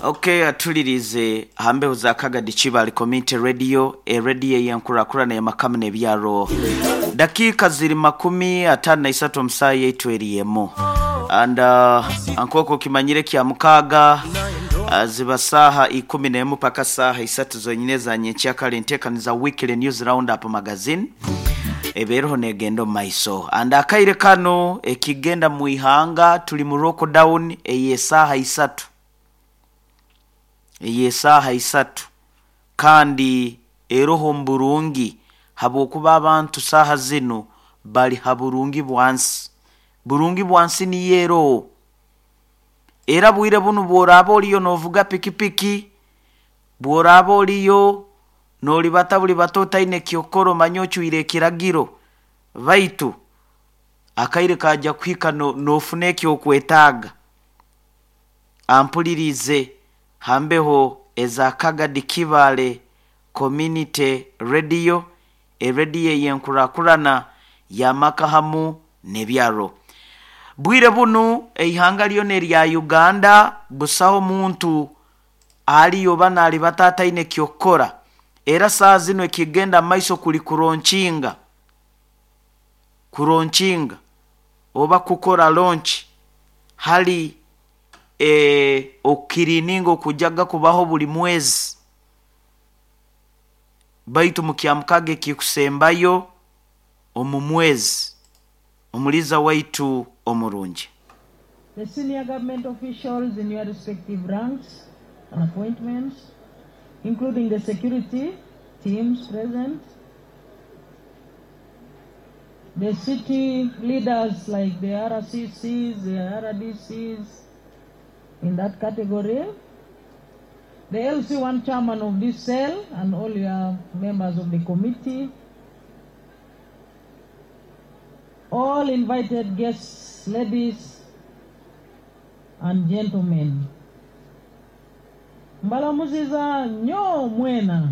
Okay, atulirize hambeho za Kagadi Kibale Community Radio, erediyo ey'enkurakurana y'amakamu n'ebyaro. Dakiika ziri 53 omu saaha yaitu eri emu. And nk'oku okimanyire kya mukaaga ziba saaha 11 paka saaha isatu zonyine eza nyenkyakare enteekaniza Weekly News Roundup Magazine eba eriho negenda omu maiso. And akaire kanu ekigenda mu ihanga tuli mu lockdown ey'esaaha isatu. Ey'esaaha isatu kandi eroho omu burungi habwokuba abantu saaha zinu bali ha burungi bwansi. Burungi bwansi niyo eroho. Era bwire bunu bw'oraaba oliyo n'ovuga pikipiki, bw'oraaba oliyo n'olibata bulibata otaine ky'okukora omanye ocwire ekiragiro, baitu akaire kaija kuhika n'ofuna eky'okwetaaga. Ampuliriize ha mbeho eza Kagadi Kibale Community Radio, erediyo ey'enkurakurana y'amaka hamu n'ebyaro. Bwire bunu eihanga lyona erya Uganda busaho muntu aliyo oba naalibata ataine ky'okukora era saaha zinu ekigenda mu maiso kuli kuronkinga, kuronkinga oba kukora launch hali okukiriininga okujaga kubaho buli mwezi baitu mu kyamukaaga ekikusembayo omu mwezi. Omuliiza waitu omurungi. The senior government officials in your respective ranks and appointments, including the security teams present, the city leaders like the RCCs, the RDCs in that category, the LC1 chairman of this cell and all your members of the committee, all invited guests, ladies and gentlemen. Mbalamuziza nnyo mwena.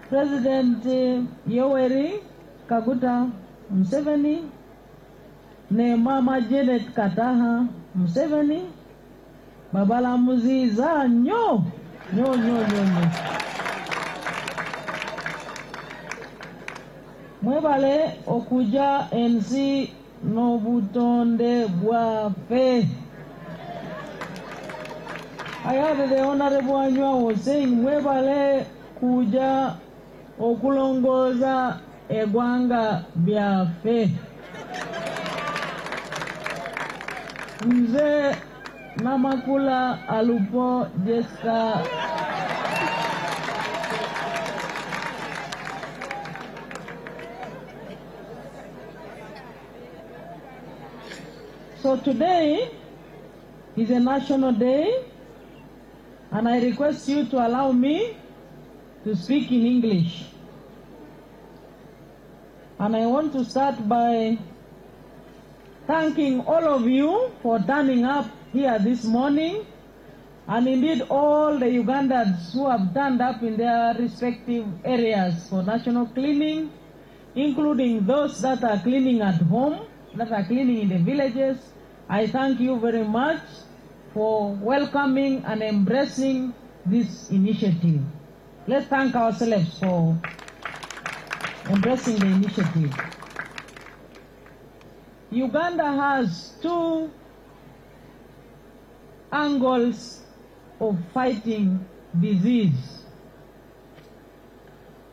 President Yoweri Kaguta Museveni ne Mama Janet Kataha Museveni babalamuziza nnyo nnyo nnyo nnyo nnyo. Mwebale okuja ensi n'obutonde bwaffe. I heard the Honorable Anywa was saying mwebale kuja okulongooza eggwanga byaffe. Nze Namakula Alupo Jessica So today is a national day, and I request you to allow me to speak in English. And I want to start by thanking all of you for turning up here this morning, and indeed all the Ugandans who have turned up in their respective areas for national cleaning, including those that are cleaning at home, that are cleaning in the villages. I thank you very much for welcoming and embracing this initiative. Let's thank ourselves for embracing the initiative. Uganda has two angles of fighting disease.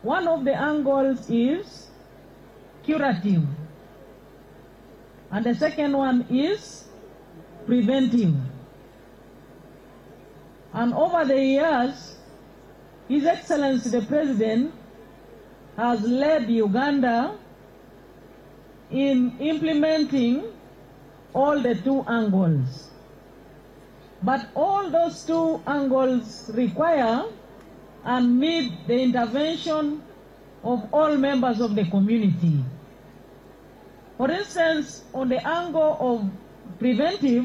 One of the angles is curative, and the second one is preventive. And over the years, His Excellency the President has led Uganda in implementing all the two angles. But all those two angles require and need the intervention of all members of the community. For instance, on the angle of preventive,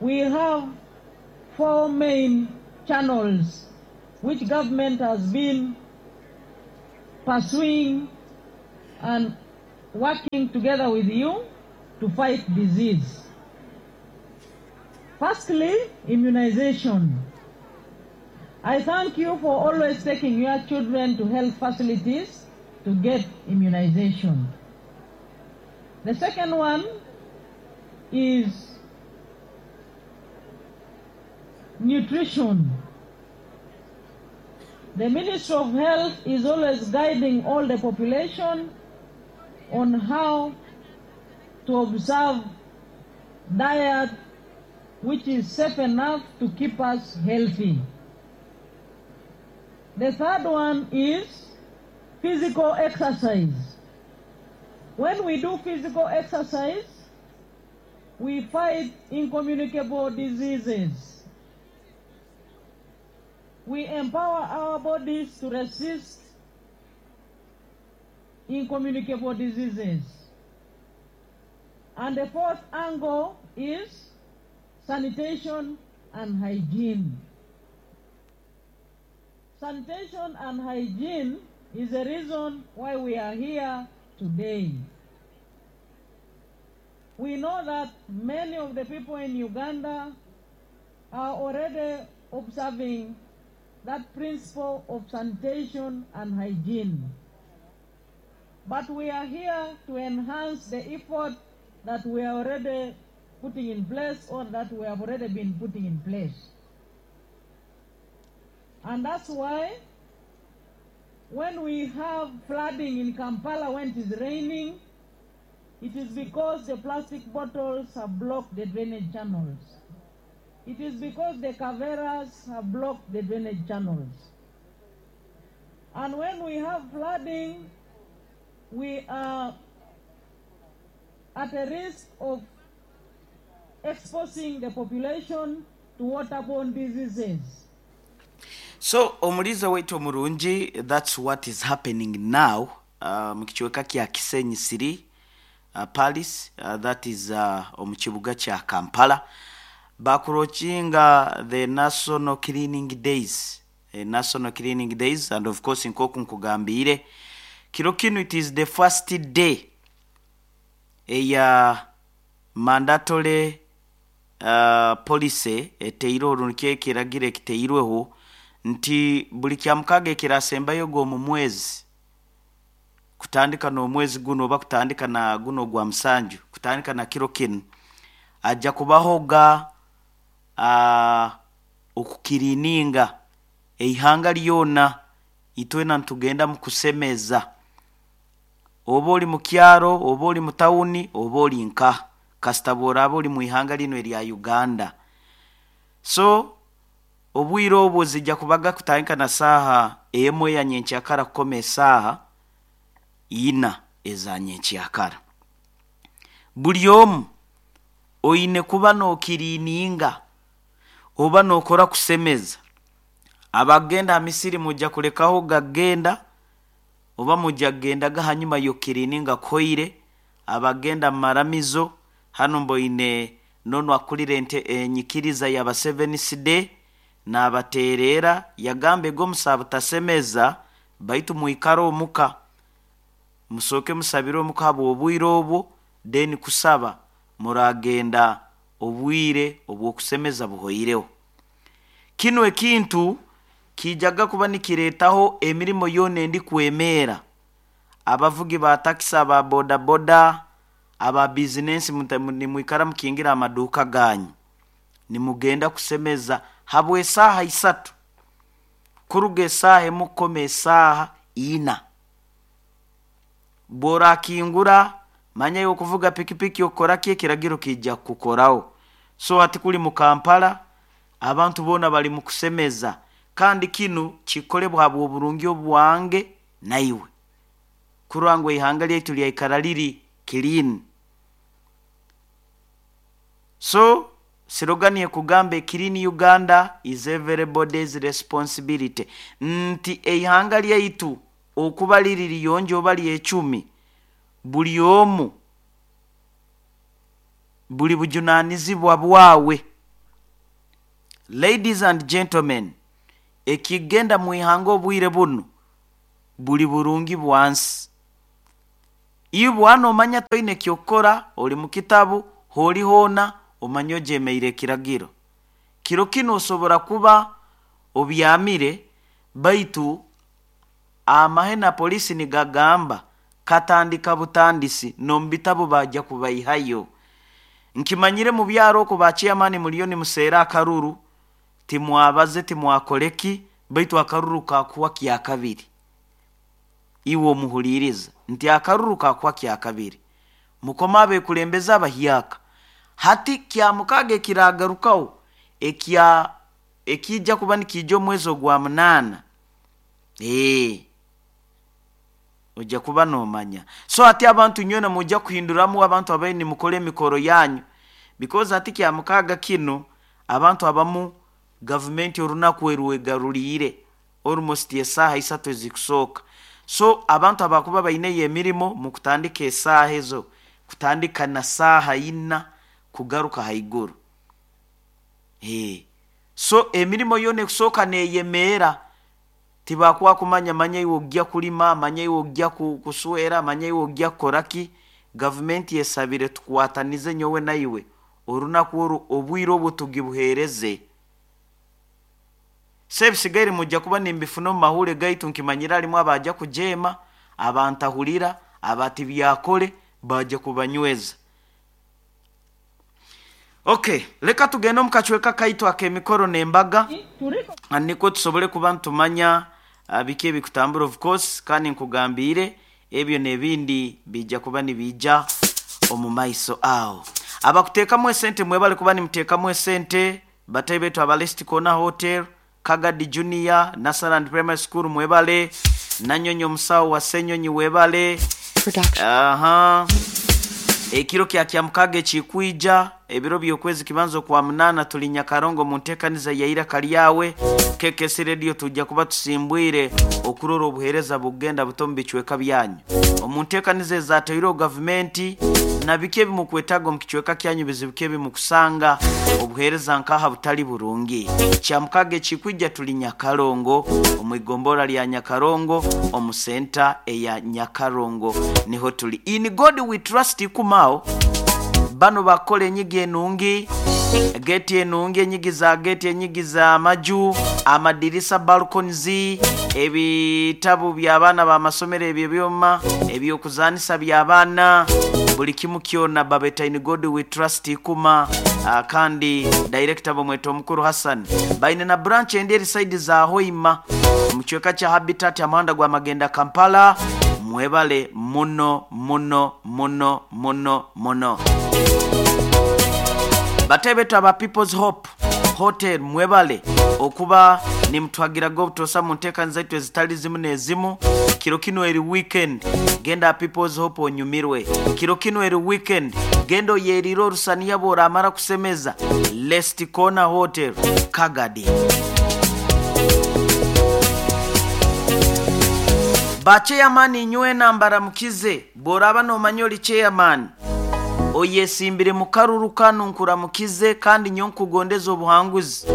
we have four main channels which government has been pursuing and working together with you. to fight disease. Firstly, immunization. I thank you for always taking your children to health facilities to get immunization. The second one is nutrition. The Ministry of Health is always guiding all the population on how to observe diet which is safe enough to keep us healthy. The third one is physical exercise. When we do physical exercise, we fight incommunicable diseases. We empower our bodies to resist incommunicable diseases. And the fourth angle is sanitation and hygiene. Sanitation and hygiene is the reason why we are here today. We know that many of the people in Uganda are already observing that principle of sanitation and hygiene. But we are here to enhance the effort that we are already putting in place or that we have already been putting in place. And that's why when we have flooding in Kampala when it is raining, it is because the plastic bottles have blocked the drainage channels. It is because the kaveras have blocked the drainage channels. And when we have flooding, we are at a risk of exposing the population to waterborne diseases. So omuliza waitu omurungi, that's what is happening now mu kicweka kya Kisenyi City, Palace, that is omu kibuga kya Kampala. Bakurokinga the National Cleaning Days, National Cleaning Days, and of course nkoku nkugambire kiro kinu, it is the first day eya mandatory policy eteire oru, nikyo ekiragiro ekiteirweho nti buli kya mukaga ekirasembayo g'omu mwezi, kutandika n'omwezi guno oba kutandika na guno gwa musanju, kutandika na kiro kinu, ajja kubaho ga okukirininga eihanga lyona. Itwena ntugenda mu kusemeza, oba oli mu kyaro, oba oli mu tawuni, oba oli nka kasita bw'oraaba oli mu ihanga lino erya Uganda. So obwire obwo zijja kubaga kutandika na saaha 1 eya nyenkyakara kukoma esaaha 4 eza nyenkyakara. Buli omu oine kuba nookirininga oba nookora kusemeza. Abagenda misiri mujja kulekaho gagenda oba mujja kugendaga hanyuma yokirininga koire. Abagenda maramizo hano mboine nono akulire ente enyikiriza yaba Seventh Day nabaterera, yagambe go musabutasemeza, baitu muikara omuka, musoke musabire omuka habw'obwire obwo, then kusaba muragenda obwire obw'okusemeza buhoireho. Kino ekintu kijaga kuba nikiretaho emirimo yona endi kwemera, abavugi ba takisi, aba bodaboda, aba bizinensi, nimwikara mukingira amaduka ganyu, nimugenda kusemeza habwe esaaha 3, kuruga esaaha 1 kukoma esaaha 4. Bworakingura manya yokuvuga pikipiki okora ki, ekiragiro kijja kukukoraho. So hati kuli mu Kampala abantu boona bali mu kusemeza, kandi kinu kikolebwa habw'oburungi obwange naiwe, kurwa ngu ihanga lyaitu lyaikara liri clean. So slogan ekugamba "Clean Uganda is everybody's responsibility", nti eihanga lyaitu okuba liri liyonjo oba lyecumi, buli omu buli bujunanizibwa bwawe. Ladies and gentlemen, ekigenda mu ihanga obwire buno buli burungi bwansi. Iwe bwana omanya toine kyokukora, oli mu kitabu, holi hoona, omanye ojemeire ekiragiro. Kiro kinu osobora kuba obyamire, baitu amahe na polisi nigagamba katandika butandisi, n'omu bitabu bajja kubaihayo. Nkimanyire mu byaro okwo ba chairman muliyo nimuseera akaruru, timwabaze timwakoleki, baitu akaruru kakuwa kyakabiri. Iwe omuhuliiriza nti akaruru kakuwa kyakabiri. Mukoma abekulembeze abahyaka. Hati kyamukaaga ekiragarukaho ekya ekijja kuba nikiija omwezi ogwa 8. Ojja kuba nomanya. So hati abantu nywena mujja kuhinduramu abantu abaine nimukora emikoro yanyu, because hati kyamukaaga kinu abantu abamu gavumenti orunaku erwegaruliire almost esaaha 3 ezikusooka. So abantu abakuba baineyo emirimo mukutandika esaaha ezo, kutandika na saaha 4 kugaruka haiguru. So emirimo yoona ekusooka neyemeera, tibakuwa kumanya manya iwe ojja kulima, manya iwe ojja kuswera, manya iwe ojja kukoraki. Gavumenti esabire tukwatanize nyowe naiwe orunaku oru obwire obwo tugibuheereze. So ebisigaire mujja kuba nimbifuna omu mahure gaitu, nkimanyira harimu abajja kujeema, abantahurira, abatibyakore, bajja kubanyweza. Okay, leka tugende omu kacweka kaitu ak'emikoro n'embaga, nikwo tusobole kuba nitumanya biki ebikutambura of course, kandi nkugambiire ebyo n'ebindi bijja kuba nibiija omu maiso aho. Abakuteekamu esente mwebale kuba nimuteekamu esente, batayi baitu aba Lest Corner Hotel, Kagadi Junior, Nasaland Primary School mwebale, Nanyonyi omusawo wa Senyonyi webale. Aha. Ekiro kya kyamukaaga ekikwija, ebiro by'okwezi kibanza okwa 8 tuli Nyakarongo mu nteekaniza ya Iraka Lyawe. KKC Radio tujja kuba tusimbwire okurora obuheereza bugenda buto omu bicweka byanyu. Omu nteekaniza ezataireho gavumenti na biki ebimukwetaaga omu kicweka kyanyu, bizibu ki ebimukusanga, obuheereza nkaha butali burungi. Kyamukaaga ekikwija tuli Nyakarongo omu igombora lya Nyakarongo omu senta eya Nyakarongo niho tuli. In God we trust ikumao bano bakola enyigi enungi, geti enungi, enyigi za geti, enyigi za maju, amadirisa, balconies, ebitabu by'abaana b'amasomero ebyo ebyoma, eby'okuzanisa by'abaana, buli kimu kyona babeta In God we trust ikuma. Kandi director bamweta omukuru Hassan. Baine na branch endi eri side za Hoima omu kicweka kya Habitat amuhanda gwa Magenda Kampala. Mwebale muno muno muno muno muno. Batayi betu aba People's Hope Hotel mwebale okuba nimutwagiraga obutosa mu nteekaniza zaitu ezitali zimu n'ezimu. Kiro kinu eri weekend, genda aha People's Hope onyumirwe. Kiro kinu eri weekend, genda oyeriire orusaniya bw'oramara kusemeza Lest Corner Hotel Kagadi. Ba chairman inywena mbaramukize, bw'oraba nomanya oli chairman oyesimbire mu karuru kanu nkuramukize kandi nyo nkugondeza obuhanguzi.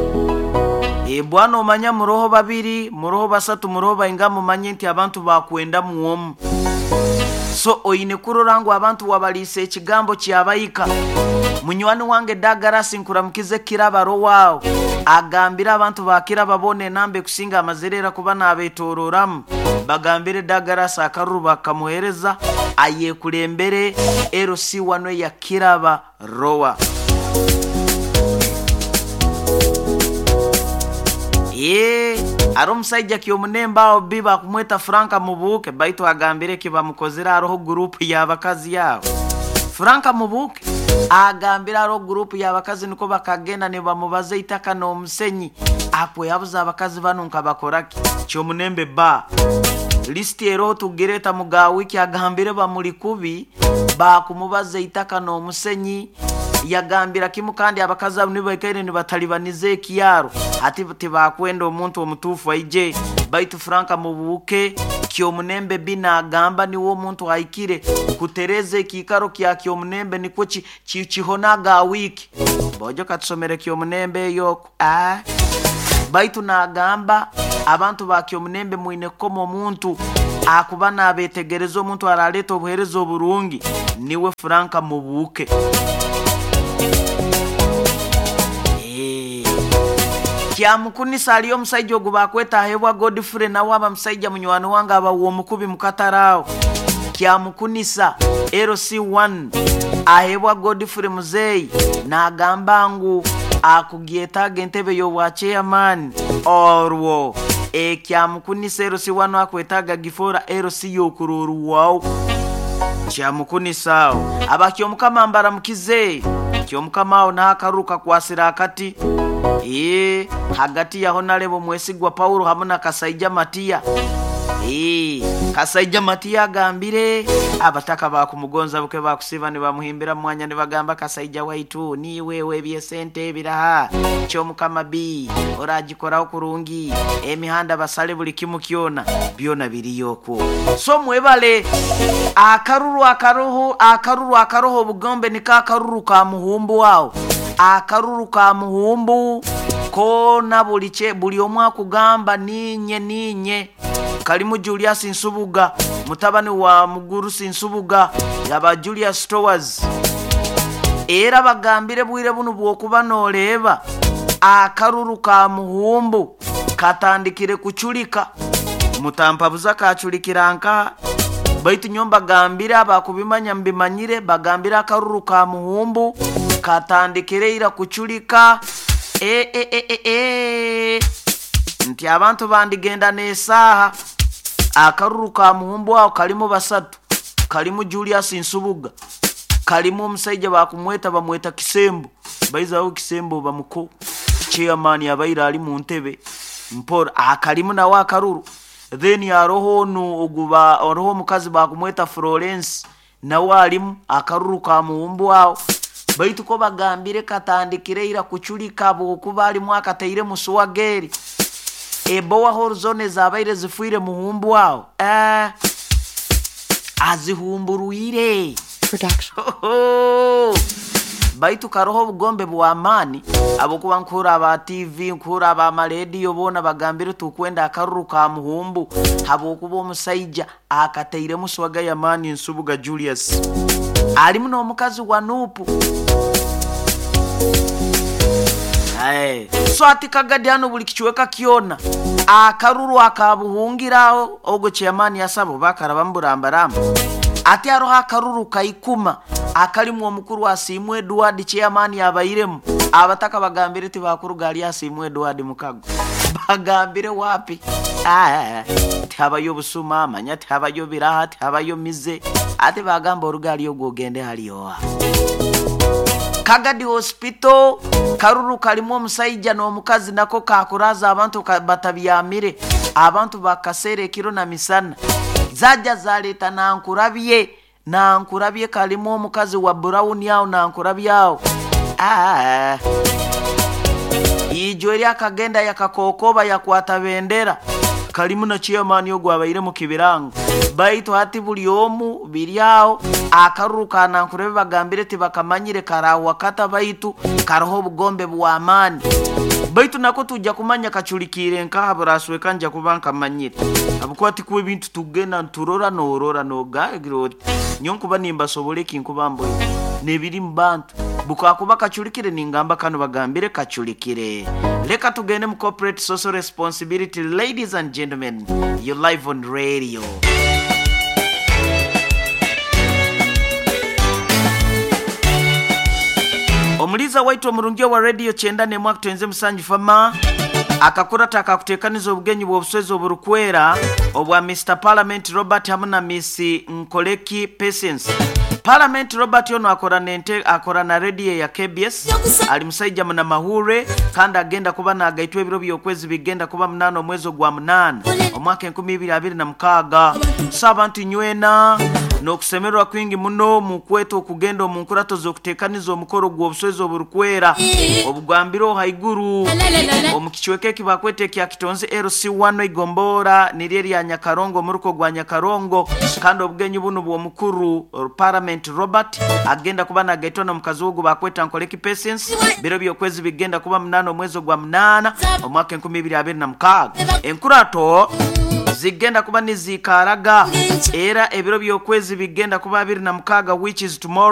Bwana omanya muroho 2, muroho 3, muroho bainga, mumanye nti abantu bakwenda muomu. So oine kurora ngu abantu wabaliisa ekigambo kyabaika. Munywani wange Douglas nkuramukize Kiraba Rowao agambire abantu ba Kiraba boona enamba ekusinga amazirera kuba nabetororamu. Bagambire Douglas akaruru bakamuhereza ayekulembere LC1 eya Kiraba Roa. Ari omusaija kyomunembe aho bi bakumweta Franka Mubuuke, baitu agambire eki bamukozire hariho gurupu y'abakazi aho. Franka Mubuuke agambire hariho gurupu y'abakazi niko bakagenda nibamubaza eitaka n'omusenyi. Akwehabuza abakazi banu nkabakoraki? Kyomunembe ba lisiti eroho tugireta muga wiki agambire bamuli kubi bakumubaza eitaka n'omusenyi. Yagambira kimu kandi abakazi abo nibaikaire nibatalibaniza ekyaro ati tibakwenda omuntu omutuufu aije. Baitu Franka Mubuuke kyomunembe bina agamba niwe omuntu ahikire kutereza ekiikaro kya kyomunembe nikwo kihonaga wiki. Bojo katusomere kyomunembe eyo. Baitu nagamba abantu ba kyomunembe mwine kukoma omuntu Akuba nabetegereza omuntu araleta obuhereza oburungi niwe Franka Mubuke. Kyamukunisa aliyo omusajja ogu bakweta ahebwa Godfrey, nawe aba musajja munywani wange aba womukubi mukataraawo. Kyamukunisa LC1 ahebwa Godfrey muzeyi nagamba ngu akugyetaaga entebe y'obwa chairman. Orwo ekyamukunisa LC1 akwetaaga gifora LC y'okurorwawo. Kyamukunisa awo aba Kyomukama mbaramukize. Kyomukama awo n'akaruka kwasira akati hagati yaho nalebo Mwesigwa Paulo hamu na Kasaija Matiya. Kasaija Matiya agambire abataka bakumugonza buke bakusiba nibamuhimbira mwanya nibagamba Kasaija waitu niwe webyesente ebiraha Kyomukama B oragikoraho kurungi emihanda basale buli kimu kyona byona biriyokwo. So mwebale akaruru akaroho akaruru akaroho obugombe nika akaruru ka muhumbu wao akaruru ka muhumbu kona buli omwe akugamba ninye ninye. Kalimu Julius Nsubuga mutabani wa Mugurusi Nsubuga yaba Julius Stowers. Era bagambire bwire bunu bwokuba noleeba akaruru ka muhumbu katandikire kuchulika. Mutampabuza kachulikira nka baitu nyomba gambire abakubimanya mbimanyire bagambire akaruru ka muhumbu katandikire ira kuchulika. Nti abantu bandigenda n'esaaha. Akaruru ka muhumbu aho kalimu basatu, kalimu Julius Nsubuga, kalimu omusajja bakumweta bamweta Kisembo, baizaho Kisembo bamuko chairman abaira ali mu ntebe mpora akalimu nawe akaruru. Then aroho onu oguba aroho omukazi bakumweta Florence nawe alimu akaruru ka muhumbu aho. Baitu ko bagambire katandikire ira kuchulika bwokuba alimu akateire musuwageri ebowa horizone zabaire zifuire muhumbu aho azihumburuire Production. Baitu karoho obugombe bw'amaani abokuba nkura aba TV nkura aba marediyo boona bagambire tukwenda akaruru ka muhumbu habwokuba omusajja akateiremu swaga y'amaani Nsubuga Julius alimu n'omukazi wa Nupu. So ati Kagadi hano buli kichweka kyona akaruru akabuhungiraho ogo chairman yasabo bakaraba mburambaramba. Ati aroho akaruru kaikuma akalimu omukuru Asiimwe Edward chairman yabairemu. Abataka bagambire tibakuruga ali Asiimwe Edward mukago bagambire wapi tihabayo busuma manya tihabayo biraha tihabayo mize ati bagamba orugali ogwo ogende haliyoa. Kagadi Hospital karuru kalimu omusajja n'omukazi nako kakuraza abantu batabyamire abantu bakasere ekiro na misana zajja zaleta nankurabye nankurabye kalimu omukazi wa brown awo nankurabye awo. Ijo eri akagenda yakakokoba yakwata bendera kalimu na chairman ogwo abaire mu kibirango. Baitu hati buli omu biri aho akaruru ka nankurabye bagambire tibakamanyire karawa kata baitu karoho obugombe bw'amaani. Baitu nako tujja kumanya kachulikire nkaha burasweka nja kuba nkamanyire abukuba tikuwa ebintu tugenda nturora norora nogagira oti nyo nkuba nimbasobole eki nkuba mboine nebiri mu bantu bukakuba kachulikire ningamba kano bagambire kachulikire. Leka tugende mu corporate social responsibility. Ladies and gentlemen, you're live on radio. Omuliza waitu omurungi wa radio 91 kutenze musanju fama akakurata akakutekaniza obugenyi bw'obuswezi oburukwera obwa Mr Parliament Robert hamu na Miss Nkoleki Patience. Parliament Robert ono akora na radio ya KBS, ali musajja muna mahure kandi agenda kuba nagaitwa ebiro by'okwezi bigenda kuba 8 omwezi gwa 8 omwaka 2026. Saba nti nywena n'okusemererwa kwingi muno mu kweta okugenda omu nkurato z'okuteekaniza omukoro gw'obuswezi oburukwera obugambiro haiguru omu kicweka eki bakweta ekya Kitonzi LC1 Igombora niryo erya Nyakarongo omuruko gwa Nyakarongo. Kandi obugenyi buno bw'omukuru Parliament Robert agenda kuba nagaitwa n'omukazi we ogu bakweta Nkoleki Patience. Biro by'okwezi bigenda kuba 8 omwezi gwa 8 omwaka 2026. Enkurato Zigenda kuba niziikaraga era ebiro by'okwezi bigenda kuba 26, which is tomorrow.